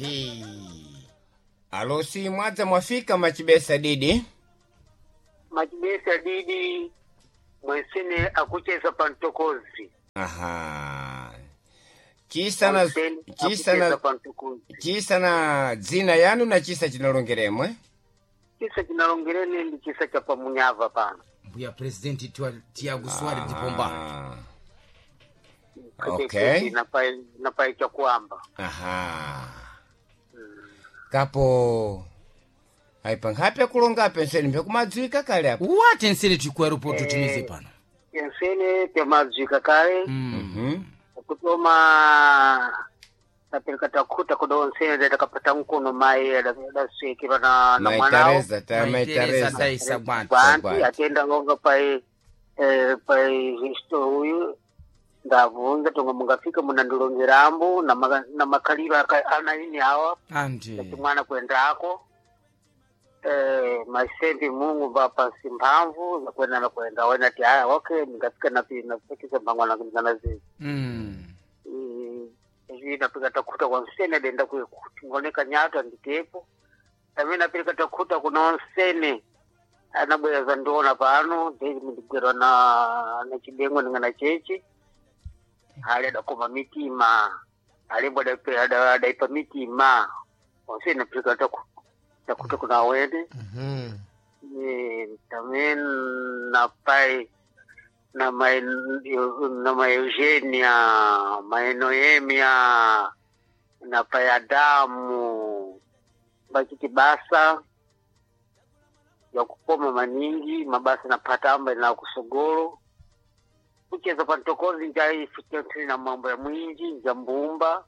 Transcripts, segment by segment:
Ahe. Alosi mwadza mwafika machibesa didi. Machibesa didi mwensene akucheza pa mtokozi. Aha. Chisa na Mwensene chisa akucheza na pa mtokozi. chisa na dzina yanu na chisa chinalongeremwe. Chisa chinalongerene ndi chisa cha pamunyava pano. Mbuya presidenti Tiago Soares de Pombal. Ah. Kete- Okay. kete napai chakuamba. Aha. Kapo aipa nkhapi akulonga penseni mpyakumadziwika kale apo. Wate nsene tiku aeroporto timize pano. Ensene pyamadzwika kale. Mhm. Kutoma tapereka takhuta kuda onsene dakapata mkono mai adaswekera na Mai mwanao. Teresa, ta mai Mai Teresa Teresa. Daisa Gwati. Bantu Gwati. atenda longa pai pai isto uyu ndabvunza tonga mungafika munandilongerambo na makhaliro anaini awa Andi. kuti mwana kuendako masendi mungu vapasi mphamvu zakuenda nakuenda wena ti aya okay ndingafika napikisa mbangwana nazi Mm. izvi napika takhuta kwa nsene denda kutingoneka nyata nditepo amene napika takhuta kuna nsene anabwera zandiona pano ndigwerwa na chibengo ndingana chechi ali adakoma mitima alembo adaipa mitima onse napika takhuta kuna awene Mhm. Também na pai na mãe na mãe Eugênia, mãe Noêmia, na pai Adamu, bachiti basa ya kukoma maningi mabasa na patamba na kusogolo kucheza pantokozi njai na mambo ya mwinji nja mbumba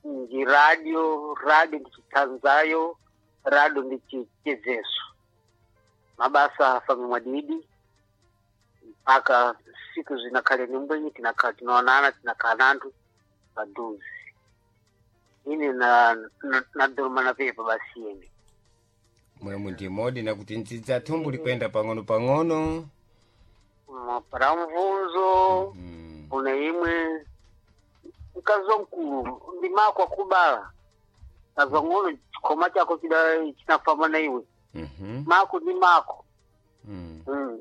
nji radio radio ndichitanzayo radio ndichichezeso mabasa afame mwadidi mpaka siku zinakhale nimbwenyi tinakhala tinaonana tinakhala nanthu paduzi ine nadoloma na pepa basi ine. Mwemwe ndimodi nakuti ndzidza thumbu likwenda pang'ono pang'ono. Para mvunzo una imwe mkazi wamkulu ndimako akubala kazang'ono chikhoma chako chida chinafamba na iwe. Mhm. Mako ndi mako. Mm.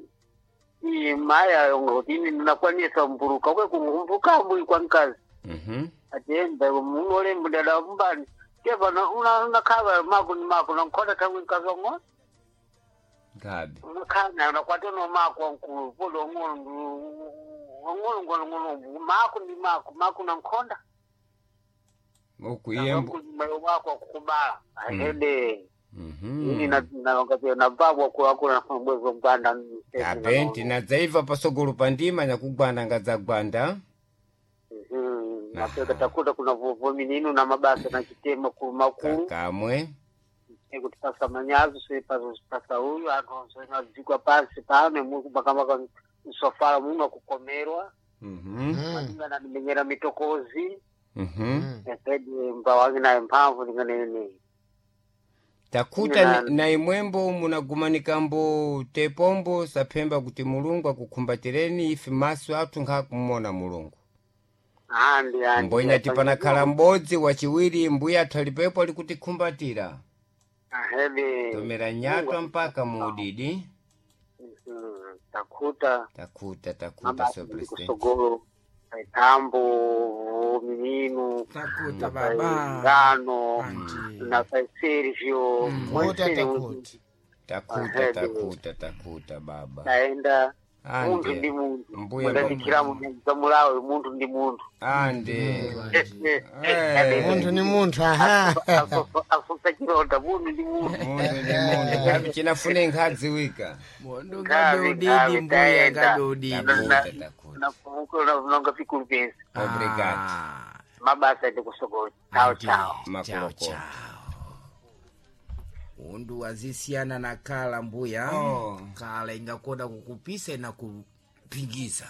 Iye maya ngoti ine ndinakwanisa mburuka kwe kungumbuka mbui kwa mkazi. Mhm. Atenda munole mudada mbani keva unakhava mako ni mako nankhona thangwe mkazi wang'ono. Ngabe. Unakhana unakwata no mako wankulu polo wang'ono wang'ono ngono ngono mako ndi mako mako nankhonda. Ukuyembo. Mayo wako akukubala ahede. Ini Mhm. nababwa kuakula bwezo mganda. Apenti nadzaiva pasogolo pandima nyakugwanda ngadzagwanda. Napeka takuta kuna vovo mininu na mabasa na chitema kulu makulu. Kakamwe. Ekuti pasa manyazo sepazo pasa uyu anthu onse pansi pano mukumakamaka msofala muno akukomerwa. Mhm. Malinga nanimenyera mitokozi. Mhm. Efedi mbawangi naye mphamvu linganene. Takuta Ine na imwembo munagumanikambo tepombo saphemba kuti Mulungu akukhumbatireni ife maso athu nkhakumona Mulungu. Andi andi. Mbonya panakhala m'bodzi wachiwiri mbuya athu alipepo alikuti-khumbatira. Ahede. Tomera nyatwa mpaka muudidi. Takuta. Takuta takuta Mabasa so president. kusogolo tambo mininu Takuta baba. ngano Andi. na pai Sergio. Kuta takuta. Takuta Ahede. takuta takuta baba. Taenda munthu ndi Ande. munthu Mbuya mudandikiramo zamulawe munthu ndi munthu. Ande. Munthu ni munthu aha. Afusa chilonda munthu ndi munthu. Munthu ndi munthu ngabe chinafune nkhadziwika. Mondo Ngabe, ngabe udidi ngabe, mbuya taenda. ngabe udidi. Takuta takuta. Nafunga fikulu pesi. Obrigado. Ah. Mabasa ndi kusogolo. Chao chao. Chao Makulokolo. chao. Undu wazisiyana na kala mbuya. Oh. Kala ingakoda kukupisa na kupingiza.